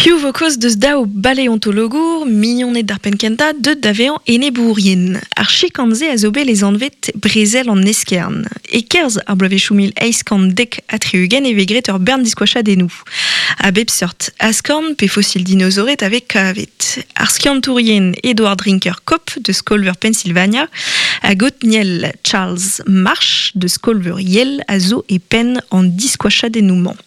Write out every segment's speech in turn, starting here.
Piv vo kaoz deus daou baleontologour, mignoned d'ar penn-kentañ, deuet da vezañ enebourien? Ar chikan-se a zo bet lesanvet Brezel an Eskern. E-kerzh ar bloavezhioù 1870 e vez graet ur bern diskoachadennoù. A bep seurt askorn pe fosil dinozored a vez kavet. Ar skiantourien Edward Drinker Cope deus Skol-veur Pennsylvania hag Othniel Charles Marsh deus Skol-veur Yale a zo e penn an diskoachadennoù-mañ.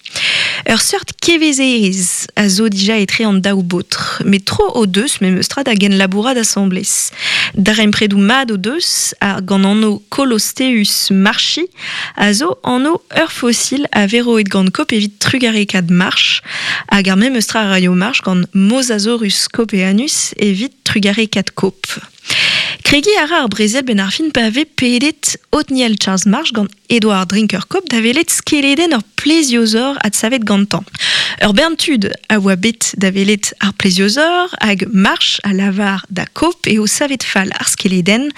Ur seurt kevezerezh a zo dija etre an daou baotr, met tro o deus memestra da genlabourat asambles. Darempredoù mat o deus, ha gant anv Colosteus marchi a zo anv ur fosil a vez roet gant Cope evit trugarekaat Marsh, hag ar memes tra a raio Marsh gant Mosasaurus copeanus evit trugarekaat Cope. Kregiñ a ra ar brezel benn ar fin pa vez pedet Othniel Charles Marsh gant Edward Drinker Cope da welet skeledenn ur pleziozor adsavet gantañ. Ur bern tud a oa bet da welet ar pleziozor hag Marsh a lavar da Cope eo savet fall ar skeledenn,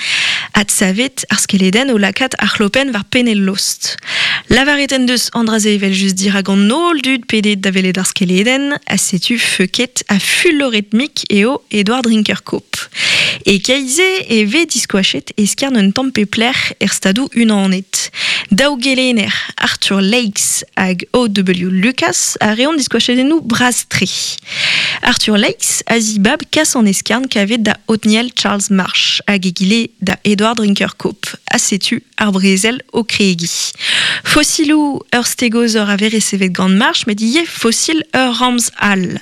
adsavet ar skeledenn o lakaat ar c'hlopenn war penn e lost. Lavaret en deus an dra-se evel-just dirak an holl dud pedet da welet ar skeledenn, ha setu feuket ha fuloret-mik eo Edward Drinker Cope. E keit-se e vez diskoachet eskern un tamm pep lec'h er Stadoù-Unanet. Daou gelenner, Arthur Lakes hag O.W. Lucas, a reont diskoachadennoù bras-tre. Arthur Lakes a zibab kas an eskern kavet da Othniel Charles Marsh hag egile da Edward Drinker Cope, ha setu ar brezel o kregiñ. Fosiloù ur stegozor a vez resevet gant Marsh met ivez fosil ur ramz all.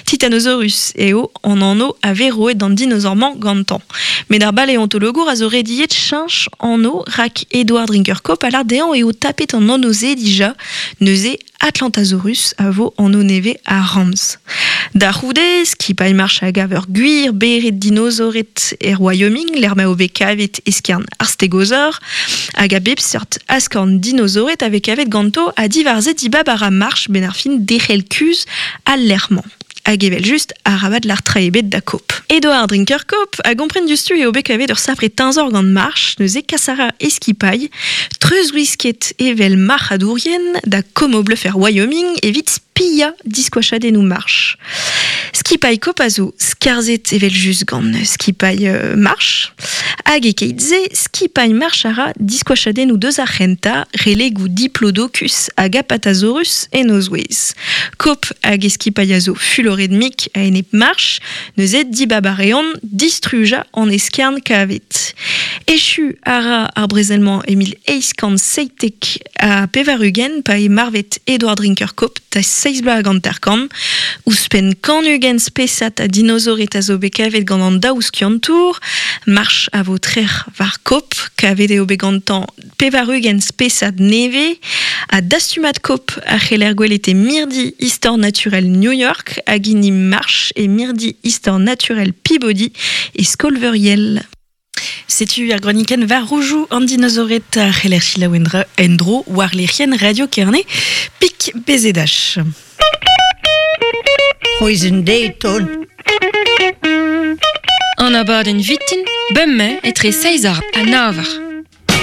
Titanosaurus eo an anv a vez roet d'an dinosaur-mañ gantañ. Met ar baleontologour a zo rediet cheñch anv rak Edward Drinker Cope a lâr dezhañ eo tapet an anv-se dija, neuze Atlantasaurus a vo anv nevez ar ramz. Da c'houde, skipailh Marsh a gav ur gwir bered dinosaored er Wyoming lec'h ma eo bet kavet eskern ar stegozor hag a bep seurt askorn dinosaored a vez kavet ganto ha diwar-se dibab a ra Marsh 'benn ar fin derc'hel kuzh al lec'h-mañ. Hag evel-just, arabat lâr tra ebet da Cope. Edward Drinker Cope a gompren diouzhtu eo bet kavet ur sapre teñzor gant Marsh, neuze kas a ra e skipailh, treuzwisket evel marc'hadourien, da Como Bluff er Wyoming evit spiañ diskoachadennoù Marsh. Skipailh Cope a zo skarzhet evel-just gant skipailh Marsh, hag e-keit-se, skipailh Marsh a ra diskoachadennoù deus ar c'hentañ, relegoù Diplodocus hag Apatosaurus en o zouez. Cope hag e skipailh a zo fuloret-mik a-enep Marsh, neuze dibab a reont distrujañ an eskern kavet. Echu a ra ar brezel-mañ e 1897 pa eo marvet Edward Drinker Cope da seizh bloaz hag hanter-kant. Ouzhpenn 120 spesad a dinosaored a zo bet kavet gant an daou skiantour. Marsh a vo trec'h war Cope, kavet eo bet gantañ 80 spesad nevez ha dastumad Cope a c'heller gwelet e Mirdi Istor Naturel New York hag hini Marsh e Mirdi Istor Naturel Peabody e Skol-veur Yale. Setu ar gronikenn war roujoù an dinozored a c'heller selaou en-dro war lec'hienn Radio Kerne, Pik BZH. Poison Dayton. An abadenn vitin, bemdez etre seizh ha nav eur.